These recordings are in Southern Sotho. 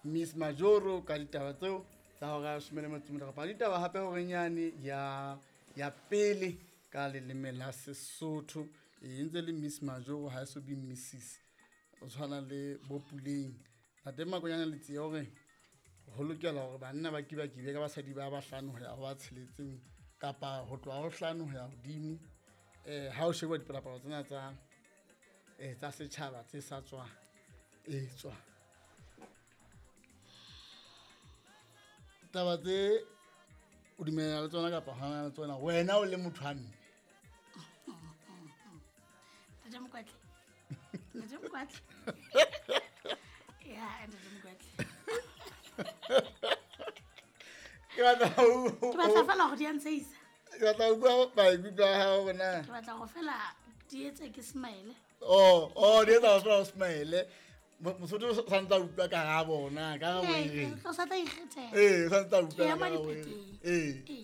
Miss Majoro ka ditaba tseo tsa hora ya leshome le metso e meraro. Bala ditaba hape horeng yane ya ya pele ka leleme la Sesotho. E ntse le Miss Majoro ha e so be Mrs. O tshwana le bo Puleng. Ntate Makonyane Letsie o re ho lokela hore banna ba kibakibe ka basadi ba bahlano ho ya ho ba tsheletseng kapa ho tloha ho hlano ho ya hodimo. Ha o sheba dipalopalo tsena tsa tsa setjhaba tse sa tswa etswa. Taba tse o dumellana le tsona kapa hana le tsona wena o le motho wa mme. Ntate Mokwatle. Ntate Mokwatle. Ya, Ntate Mokwatle. Ke batla Ke batla fela gore di a ntsheisa. Ke batla ho bua maikutlo a hao hore na. Ke batla go fela di etse ke smile. Oh, oh, di etsa fela o smile. Mosotho o santse a utlwa karabo na, karabo e reng? O sa tla ikgethela. Ee, o santse a utlwa Ke ema karabo e reng. dipakeng. Ee. Ee.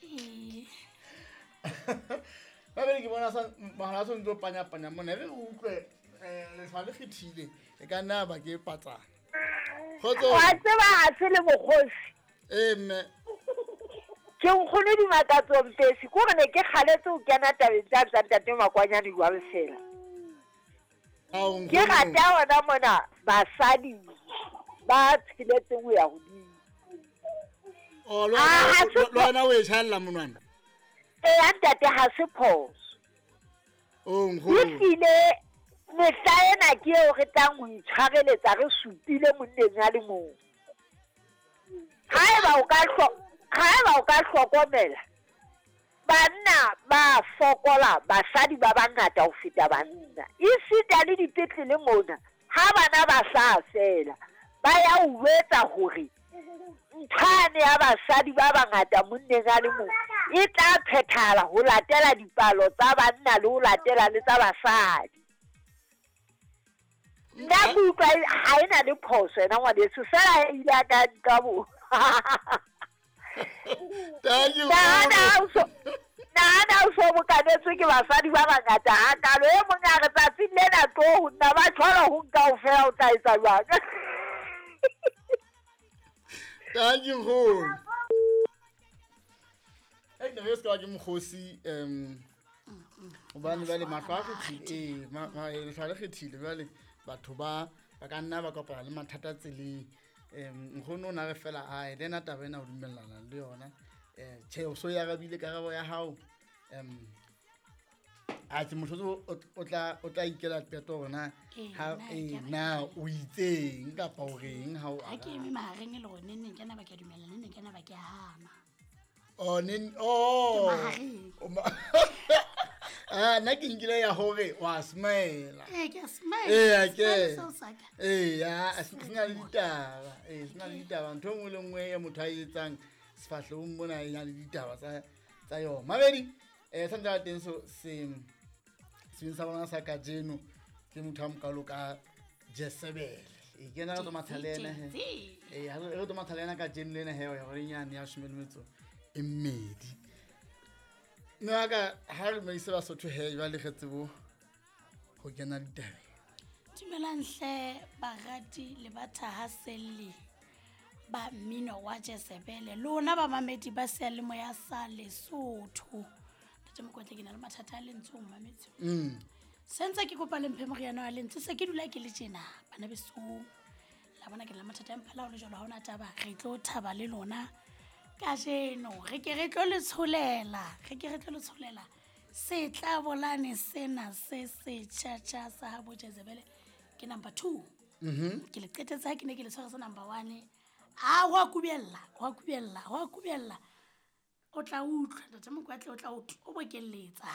Ee. Babedi ke bona sa mohala o ntse o panya-panya mona. E re re utlwe lehlwa le kgethile. E ka nna ba ke patsana. Kgotso. Wa tseba ha se le mokgosi. Ee, mme. Ke nkgono Dimakatso Mpesi, ke hore ne ke kgaletse ho kena tabeng tsa tsa ntate Makwanyane jwalo fela. Ao, Ke nkgono. rata hona mona basadi ba tsheletseng ho ya hodimo. Oh, le Ah, wena- ha se le wena o e tjhaella monwana? Eya ntate, ha se phoso. Oh, nkgono. Ehlile mehla ena ke eo re tlang ho itshwareletsa re supile monneng a le mong. Haeba o ka haeba o ka hlokomela, banna ba fokola, basadi ba bangata ho feta banna. Esita le dipetlele mona, ha bana ba hlaha fela, ba ya o jwetsa hore nthwane ya basadi ba bangata monneng a le mong e tla phethahala ho latela dipalo tsa banna le ho latela le tsa basadi. Nna ke utlwa ha ena le phoso yena ngwaneso, fela e ile a ka nka bo. Thank you. Nahana o so bokanetswe ke basadi ba bangata hakalo. E mong a re tsatsing lena tlo ho nna, ba tshwara ho nka kaofela, o tla etsa jwang? Thank you, nkgono. Ei, ne re se ka ba ke mokgosi, hobane jwale mahlo a kgethile, ee, lehlwa le kgethile jwale batho ba ba ka nna ba kopana le mathata tseleng. Nkgono o na re fela ae, le ena taba ena o dumellana le yona. Tjhe, o so e arabile karabo ya hao. Atjhe, motho o tla ikela qeto hore na Ee, ha nna ee, ke a na o itseng kapa o reng ha o Ha ke araba. eme mahareng e le hore neng neng ke na ba ke a dumela, neng neng ke na ba ke a hana. Oh, nen, oh. Ke mahareng. O Ah, nna ke nkile ya hore wa smile. Ee, ke a smile. Ee, Smile ke. seo sa ka. Ee, ya, se na le ditaba. Ee, se na le ditaba. Ntho e nngwe le nngwe e motho a e etsang sefahlehong mona e na le ditaba tsa yona. Mabedi, sa ntse teng so se sebeng sa bona sa kajeno ke motho a mokalo ka Jezebel. Ee, ke ena re tlo matha le ena he. Jezebel. Ee, ha re tlo matha le ena kajeno le ena he, ya hore nyane ya leshome le metso e mmedi. Mme wa ka, ha re dumedise Basotho he, jwale re tsebo ho kena ditabeng. Dumelang hle barati le bathahaselli ba mmino wa Jezebel. Lona bamamedi ba seyalemoya sa Lesotho. Ntate Mokwatle, ke na le mathata a lentswe ho mmametse. Se ntse ke kopa le mphe moriana wa lentswe, se ke dula ke le tjena, bana besong. La bona ke na le mathata a mpha le jwalo, ha hona taba, re tlo thaba le lona kajeno. Re ke re tlo le tsholela, re ke re tlo le tsholela setlabolane sena se setjha-tjha sa habo Jezebel. Ke number 2. Ke le qetetse ha ke ne ke le tshware sa number 1. Ah, ho a kubella, ho a kubella, ho a kubella. O tla utlwa, Ntate Mokwatle, o tla o bokelletsa.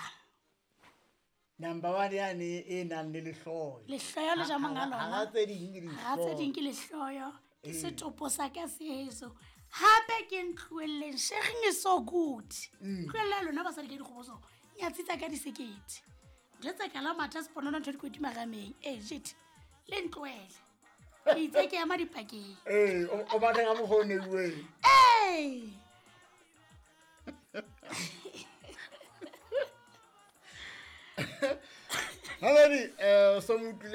Number 1 yane e nang le lehloyo. Lehloyo le ja monga lona. Ha tse ding ke Ha tse ding dihloyo. ke lehloyo. Ke setopo sa ka se heso. Hape ke ntlohelleng, sharing is so good. Tlohella lona basadi ka dikgoboso. Nyatsi tsa ka di sekete. Ntho tsa ka la matha seponono ntho di koti marameng. Eh, shit. Le ntlohele. Ke itse ke ema dipakeng. Ee, o batla ka mokgwa o neuweng. Ee. Mabedi, o so mo utlwile